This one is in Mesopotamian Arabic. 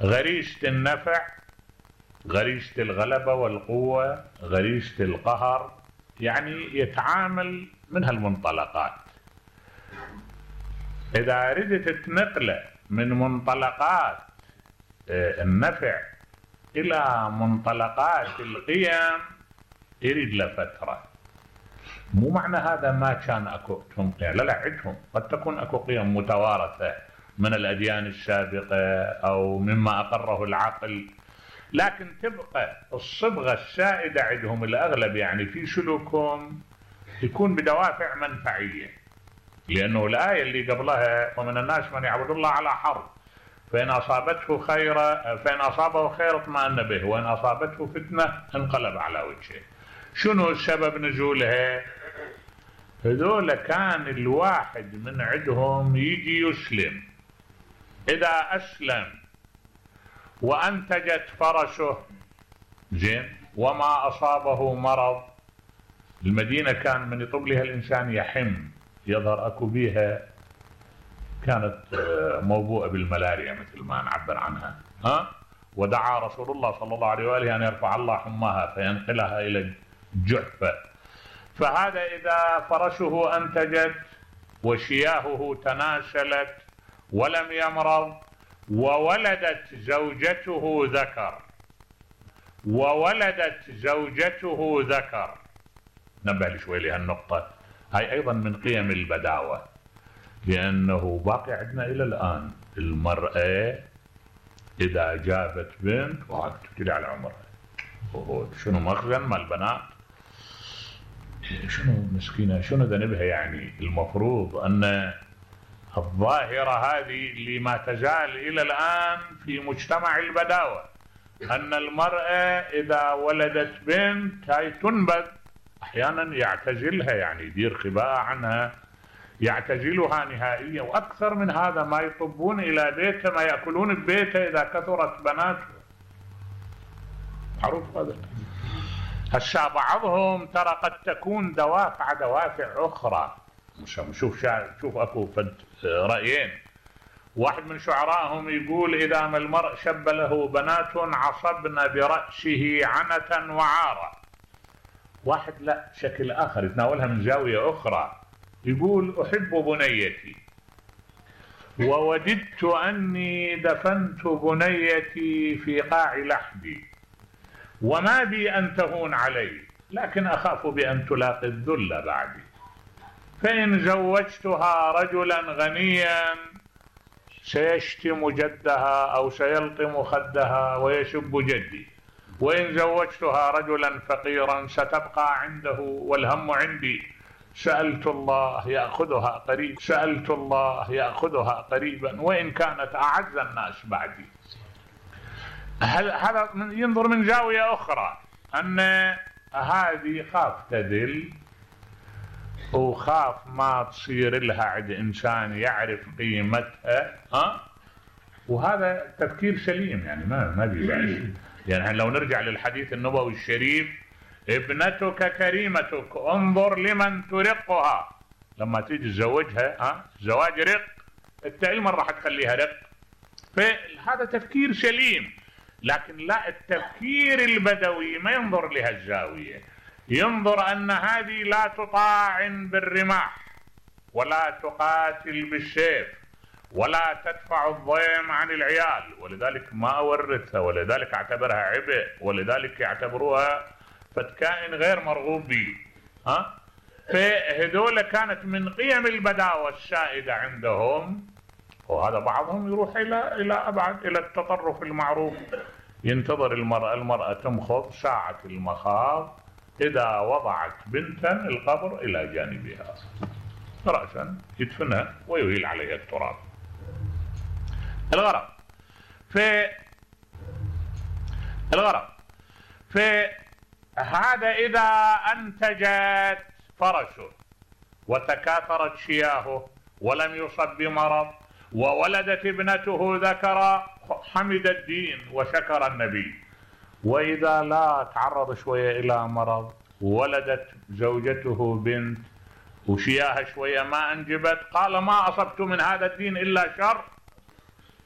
غريزة النفع، غريزة الغلبة والقوة، غريزة القهر، يعني يتعامل من هالمنطلقات. إذا أردت تنقله من منطلقات النفع إلى منطلقات القيم يريد له فترة. مو معنى هذا ما كان اكو لا لا، عندهم قد تكون اكو قيم متوارثة من الأديان السابقة أو مما أقره العقل، لكن تبقى الصبغة السائدة عندهم الأغلب يعني في سلوكهم يكون بدوافع منفعية، لأنه الآية اللي قبلها ومن الناس من يعبد الله على حرف فإن أصابه خير اطمأن به وإن أصابته فتنة انقلب على وجهه. شنو سبب نزولها؟ هذول كان الواحد من عندهم يجي يسلم، إذا أسلم وأنتجت فرسه زين وما أصابه مرض، المدينة كان من يطب لها الإنسان يحم، يظهر أكو بيها كانت موبوءة بالملاريا مثل ما نعبر عنها، ودعا رسول الله صلى الله عليه وآله أن يرفع الله حماها فينقلها إلى الجحفة. فهذا إذا فرسه أنتجت وشياهه تناسلت ولم يمرض وولدت زوجته ذكر، نبه لي شوي لهالنقطة، هاي أيضا من قيم البداوة، لأنه باقي عندنا إلى الآن المرأة إذا جابت بنت تبتدي على عمرها، شنو مخزن مال البنات، شنو مسكينة، شنو ذنبها. يعني المفروض أن الظاهرة هذه اللي ما تزال إلى الآن في مجتمع البداوة، أن المرأة إذا ولدت بنت هاي تنبذ، أحيانا يعتزلها، يعني يدير خباء عنها، يعتزلها نهائيا. وأكثر من هذا ما يطبون إلى بيته، ما يأكلون ببيته إذا كثرت بناته، معروف هذا. هسا بعضهم ترى قد تكون دوافع أخرى. شوف أكو رأيين، واحد من شعرائهم يقول إذا ما المرء شب له بنات عصبن برأسه عنة وعارة. واحد لا، شكل آخر يتناولها من زاوية أخرى، يقول أحب بنيتي ووددت أني دفنت بنيتي في قاع لحدي وما بي أن تهون علي، لكن أخاف بأن تلاقي الذل بعدي، فإن زوجتها رجلا غنيا سيشتم جدها أو سيلطم خدها ويسب جدي، وإن زوجتها رجلا فقيرا ستبقى عنده والهم عندي، سألت الله يأخذها قريبا وإن كانت أعز الناس بعدي. هذا ينظر من زاوية أخرى، أن هذه خاف تذل وخاف ما تصير لها عند إنسان يعرف قيمتها، وهذا تفكير سليم، يعني ما بيبعش. يعني لو نرجع للحديث النبوي الشريف، ابنتك كريمتك انظر لمن ترقها، لما تيجي تزوجها زواج رق، انت ايمن راح تخليها رق. فهذا تفكير سليم، لكن لا، التفكير البدوي ما ينظر لها الزاوية، ينظر أن هذه لا تطاعن بالرماح ولا تقاتل بالسيف ولا تدفع الضيم عن العيال، ولذلك ما أورثها، ولذلك اعتبرها عبء، ولذلك يعتبروها فتكائن غير مرغوب به. فهذول كانت من قيم البداوة السائدة عندهم. وهذا بعضهم يروح إلى أبعد، إلى التطرف المعروف، ينتظر المرأة تمخض ساعة المخاض، إذا وضعت بنتا القبر إلى جانبها رأسا يدفنها ويهيل عليها التراب. الغرض هذا إذا أنتجت فرسه وتكاثرت شياهه ولم يصب بمرض وولدت ابنته ذكرا حمد الدين وشكر النبي، وإذا لا تعرض شوية إلى مرض ولدت زوجته بنت وشياها شوية ما أنجبت، قال ما أصبت من هذا الدين إلا شر